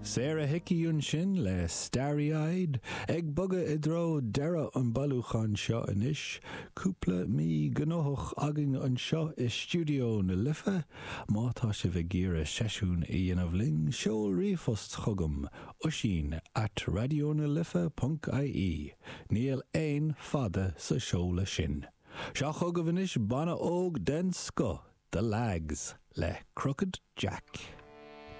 Sarah Hickey ansin le Starry Eyed, ag bogadh i dtreo deireadh an bailiúcháin seo anois. Cúpla mí gnóthach againn anseo i Stiúideo na Life. Má tá sibh ag iarraidh seisiún a dhéanamh linn, seol ríomhphost chugam, oisín at raidionalife ponc ie. Níl aon fada sa seoladh sin. Seo chugaibh anois banna óg den scoth, The Lags, le Crooked Jack.